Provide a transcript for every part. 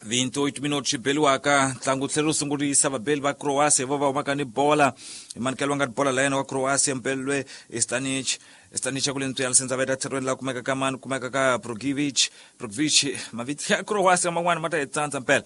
28 minutos xi beliwaka ntlangu tlhela wu sungurisa vabeli va Croatia vo va humaka ni bola hi manikelo wa nga ni bola la yena wa Croatia mpelwe Stanic Stanic ya ku le ntswiyana sendza veta tlherweni la kumeka ka mani kumeka ka Brogivic Brogivic mavito ya Croatia man'wana ma ta hi tsandza mpela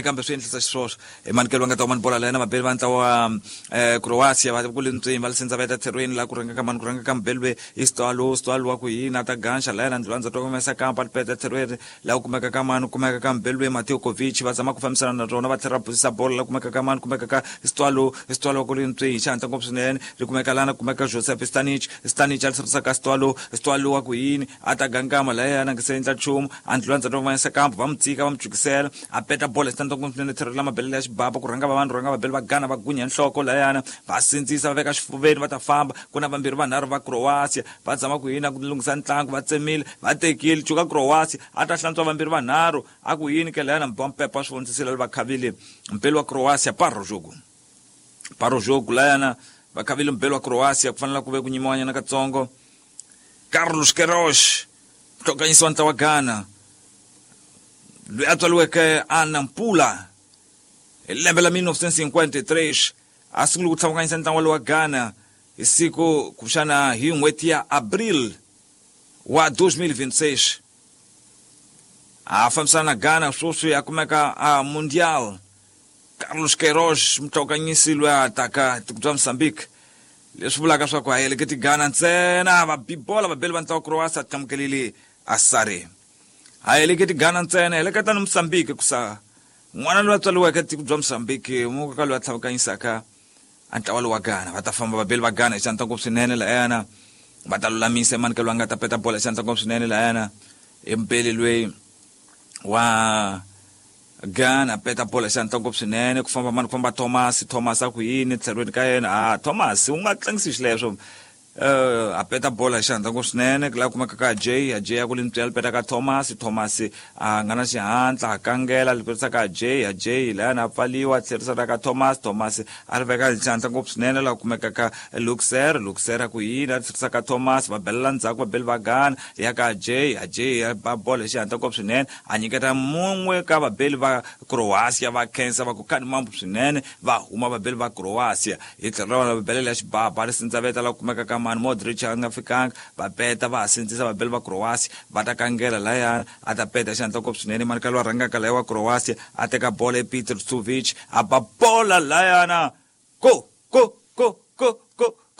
kambe swi endlisa xiswoswo hi manikelo wa nga ta huma ni bola la yena vabeli va ntlawa wa Croatia va ku le ntswini va le sendza veta tlherweni la ku rhanga ka mani ku rhanga ka mbelwe i Stalo Stalo wa ku yini a ta ganxa la yena ndlwandza twa kumesa kampa lipeta tlherweni Laha ku kumeka ka mani, ku kumeka ka Mbelwe Mateo Kovic va zama ku fambisana na rona va tlhela va busisa bolo laha kumeka ka mani, kumeka ka Stwalo, Stwalo ku ri ntswi hi xihatla ngopfu swinene ri kumeka lana ku kumeka Joseph Stanic, Stanic a tlherisa ka Stwalo, Stwalo wa ku yini a ta gangama lahayana a nga se endla nchumu a ndlula ndzhaku va yisa kambu va n'wi tshika va n'wi jukisela a peta bolo hi xihatla ngopfu swinene tlhelo la mabelele ya xibaba ku rhanga va vanhu rhanga vabeli va Ghana va gunya nhloko lahayana va sindzisa va veka xifuveni va ta famba ku na vambirhi vanharhu va Croatia Va zama ku yini ku lunghisa ntlangu, va tsemile, va tekile, cuka Croatia, a ta hlantswa vambirhi vanharhu, a ku yini ke layana mbiwa mpepa swi vonisisile va khavile mpeli wa Croatia paro jogo. Paro jogo layana va khavile mpeli wa Croatia ku fanele ku ve ku nyimiwanyana katsongo. Carlos Queiroz muhlokanyisi wa ntlawa wa Ghana loyi a tswariweke a Nampula hi lembe la 1953 a sungule ku tlhavukanyisa ntlangu wa Ghana Hi siku kumbexana hi n'hweti ya April wa 2026, a fambisana na Ghana sweswi a kumeka a Mundial. Carlos Queiroz mutlhokanyisi loyi a taka tiko bya Mozambique, leswi vulaka swa ku a heleketi Ghana ntsena va bi bola vabeli va ntlawa Croatia tlamukelile Asare. A heleketi Ghana ntsena heleketa ni Mozambique kusa n'wana loyi a tswariweke tiko bya Mozambique muka loyi a tlhavukanyisaka A ntlawa lowu wa Ghana va ta famba vabeli va Ghana hi xandla ngopfu swinene layana va ta lulamisa emanikelo loyi a nga ta peta bola hi xandla ngopfu swinene layana i mubeli loyi wa Ghana peta bola hi xandla ngopfu swinene ku famba mani ku famba Thomas Thomas a ku yini tlhelweni ka yena a Thomas u nga tlangisi xileswo a peta bola hi xihatla ngopfu swinene ku laha kumeka ka Jay a Jay a ku li ntswela peta ka Thomas Thomas a nga na xihatla a kangela li petisa ka Jay a Jay layani a pfaliwa a tlherisa ka Thomas Thomas a ri veka hi xihatla ngopfu swinene laha kumeka ka Luxer Luxer a ku yini a tlherisa ka Thomas va belela ndzhaku va beli va Ghana ya ka Jay a Jay a ba bola hi xihatla ngopfu swinene a nyiketa mun'we ka vabeli va Croatia va khensa va ku khani mambu swinene va huma vabeli va Croatia Hi tlhelo ra vona va belela ya xibaba ri sindzaveta la kumeka ka mani Modric a nga fikanga va peta va ha sindzisa vabeli va Croatia va ta kangela layani a ta peta xandla ngopfu swinene mani ka lowa rhangaka laya wa Croatia a teka bola e Peter Suvic a ba bola layana go go go go go.